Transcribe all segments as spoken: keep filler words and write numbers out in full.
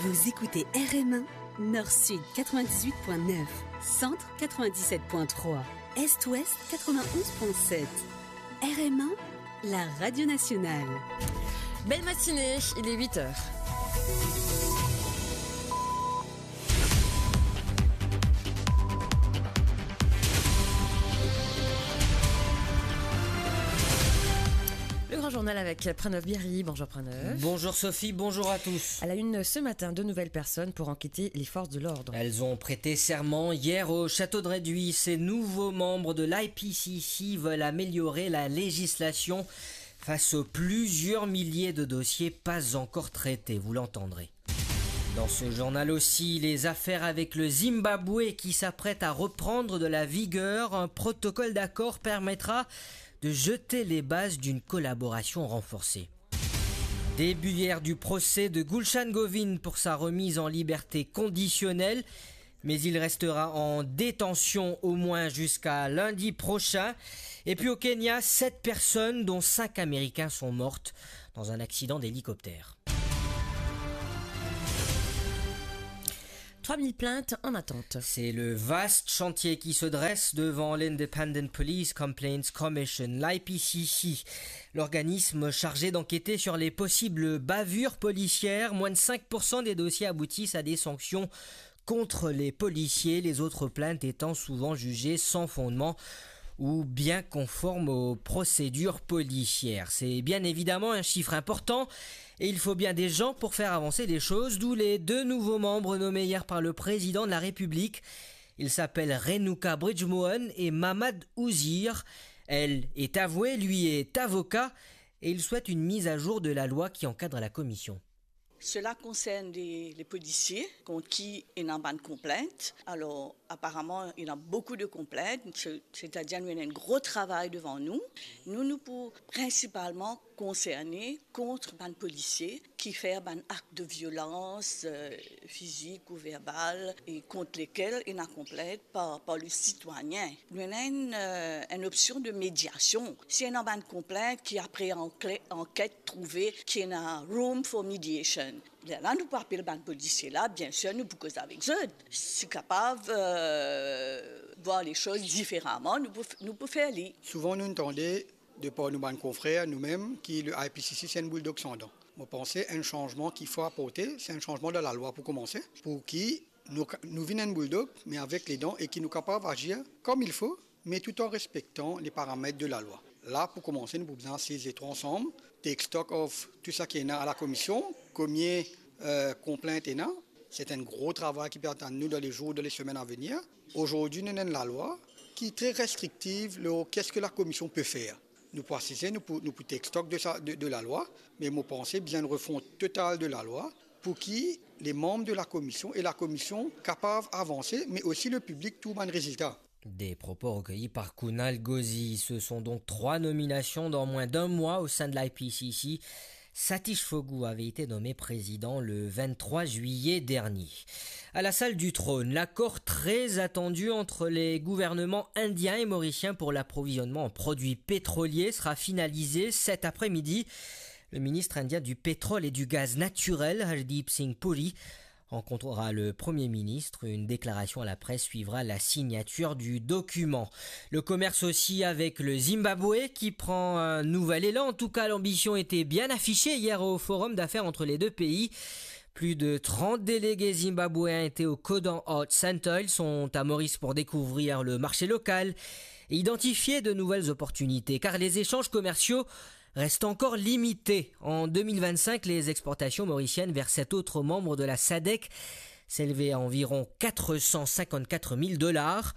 Vous écoutez R M un, Nord-Sud quatre-vingt-dix-huit point neuf, Centre quatre-vingt-dix-sept point trois, Est-Ouest quatre-vingt-onze point sept. R M un, la radio nationale. Belle matinée, il est huit heures. Le grand journal avec Pranav Bihari. Bonjour Pranav. Bonjour Sophie, bonjour à tous. À la une ce matin, deux nouvelles personnes pour enquêter les forces de l'ordre. Elles ont prêté serment hier au château de Reduy. Ces nouveaux membres de l'I P C C veulent améliorer la législation face aux plusieurs milliers de dossiers pas encore traités, vous l'entendrez. Dans ce journal aussi, les affaires avec le Zimbabwe qui s'apprête à reprendre de la vigueur. Un protocole d'accord permettra de jeter les bases d'une collaboration renforcée. Début hier du procès de Gulshan Govind pour sa remise en liberté conditionnelle, mais il restera en détention au moins jusqu'à lundi prochain. Et puis au Kenya, sept personnes, dont cinq Américains, sont mortes dans un accident d'hélicoptère. Trois mille plaintes en attente. C'est le vaste chantier qui se dresse devant l'Independent Police Complaints Commission, l'I P C C, l'organisme chargé d'enquêter sur les possibles bavures policières. Moins de cinq pour cent des dossiers aboutissent à des sanctions contre les policiers, les autres plaintes étant souvent jugées sans fondement ou bien conformes aux procédures policières. C'est bien évidemment un chiffre important et il faut bien des gens pour faire avancer les choses, d'où les deux nouveaux membres nommés hier par le président de la République. Ils s'appellent Renuka Bridgemohan et Mamad Ouzir. Elle est avouée, lui est avocat et il souhaite une mise à jour de la loi qui encadre la commission. Cela concerne les, les policiers contre qui ena bann konplint. Alors, apparemment, il y a beaucoup de complaintes, se-, c'est-à-dire nou ena enn gro travay devan nou. Nou, nou pou prinsipalman konserne kont bann polisie ki fer bann akt de violans, euh, fizik ou verbal, e kont lekel ena konplint par, par le sitwayen. Nou ena enn, euh, enn opsion de mediasion. Si ena bann konplint ki apre anke-, anket trouve ki ena room for mediation, lerla nou pou apel bann polisie la, biensir nou pou koz avek zot. Si kapav, euh, voir les choses différemment, nou pou, nou pou fer li. Souvan nou tande, de par nou bann konfrer, nou mem, ki le I P C C se enn bouldog san dan. Mo panse enn sanzman ki fo aporte, se enn sanzman dan lalwa pou koumanse, pou ki nou ka-, nou vinn enn bouldog, me avek ledan, e ki nou kapav azir comme il faut, mais tout en respectant les paramètres de la loi. La, pou koumanse, nou pou bizin asiz letrwa ansam, take stock of tou sa ki ena a la komision, konbien, euh, konplint ena. Se enn gro travay ki pe atann nou dan le zour, dan le semenn a venir. Azordi, nou ena enn lalwa ki tre restriktiv lor qu'est-ce que la commission peut faire. Nou pou asize, nou pou, nou pou take stock de sa, de, de lalwa, me mo panse bizin enn refont total de lalwa pou ki le manm de la komision e la komision kapav avanse, me osi le piblik trouv bann rezilta. Des propos recueillis par Kunal Ghosi. Ce sont donc trois nominations dans moins d'un mois au sein de l'I P C C. Satish Phogu avait été nommé président le vingt-trois juillet dernier. À la salle du trône, l'accord très attendu entre les gouvernements indiens et mauriciens pour l'approvisionnement en produits pétroliers sera finalisé cet après-midi. Le ministre indien du pétrole et du gaz naturel, Hardeep Singh Puri, rencontrera le Premier ministre. Une déclaration à la presse suivra la signature du document. Le commerce aussi avec le Zimbabwe qui prend un nouvel élan. En tout cas, l'ambition était bien affichée hier au Forum d'affaires entre les deux pays. Plus de trente délégués zimbabwéens étaient au Kodan Art Center. Ils sont à Maurice pour découvrir le marché local et identifier de nouvelles opportunités, car les échanges commerciaux reste encore limité. En deux mille vingt-cinq, les exportations mauriciennes vers cet autre membre de la sadec s'élevaient à environ quatre cent cinquante-quatre mille dollars.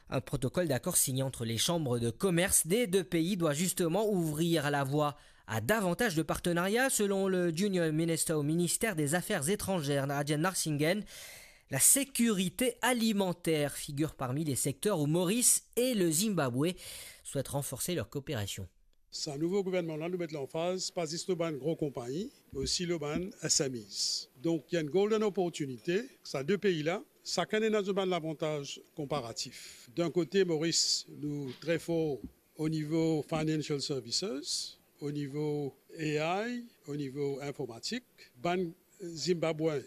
Un protocole d'accord signé entre les chambres de commerce des deux pays doit justement ouvrir la voie à davantage de partenariats, selon le junior minister au ministère des Affaires étrangères, Rajan Narsinghen. La sécurité alimentaire figure parmi les secteurs où Maurice et le Zimbabwe souhaitent renforcer leur coopération. Sa nouvo gouvernman la, nou met lanfaz pa zis lor bann gro konpagni, me osi lor bann S M Es. Donk, ena enn golden opportunité, sa de pei la, sakenn ena zot bann lavantaz konparatif. D'enn kote, Moris, nou tre for o nivo financial services, o nivo A I, o nivo informatik. Bann Zimbabwen,